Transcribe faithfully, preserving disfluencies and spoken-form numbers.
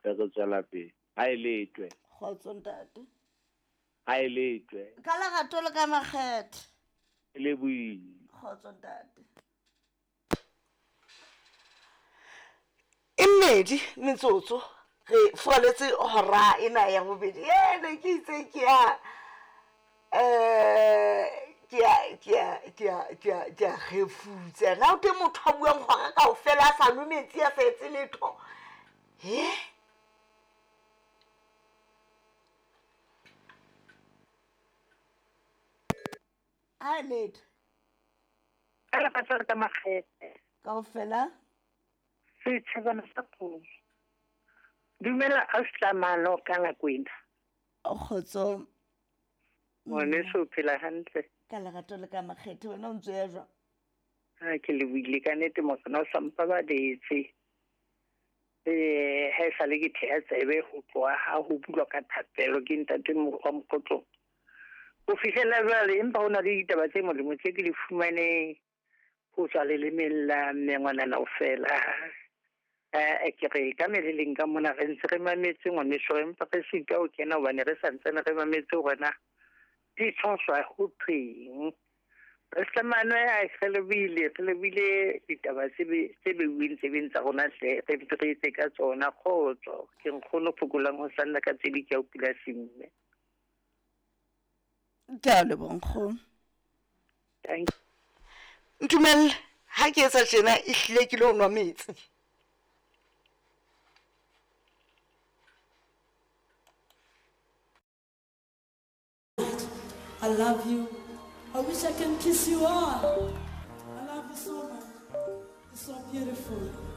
Hape re tswela pele. Ha e letwe. Kgotso ntate. Ha e letwe. Ka lerato le ka makgethe. E le boile. Kgotso ntate. E mmedi metsotso re furaletse hora ena ya bobedi. E ne ke itse ke ya eh ke ya ke ya ke ya ke ya ke ya kgefutsa. Na o teng motho a buang hora kaofela a sa nwe metsi a sa etse letho. He? A letho. Ka lerato le ka makgethe. Kaofela. Setjhabana sa kgomo. Dumela ausi ka Lakwena. Kgotso. Ngwaneso o phela hantle. Ka lerato le ka makgethe wena o ntse ya jwang? Ha ke lebohile ka nnete morena o sa mpabaletse. Eh ha e sale ke theha tsebe ho tloha ha ho bulwa ka thapelo ke ntate wa Mokgotlong. Ho fihlela jwale empa ho na le ditaba tse molemo tse ke di fumaneng ho tswa lelemeng la mme ngwanana ofela. Eh ke re ka meleleng ka mona re ntse re mametse ngwaneso empa re sitwa ho kena hobane re santsane re mametse hore na di tshoswa ho thweng. Re hlamane a re lebile re lebile ditaba tse tse beuweng tsebeng tsa rona hle re re etse ka tsona kgotso. Ke nkgono phokolang ho sanna ka tse di ke a pula simme. Ke a leboha nkgono. Thank you. Ntumelle ha ke etsa tjena ehlile ke lo nwa metsi. I love you. I wish I can kiss you all. I love you so much. You're so beautiful.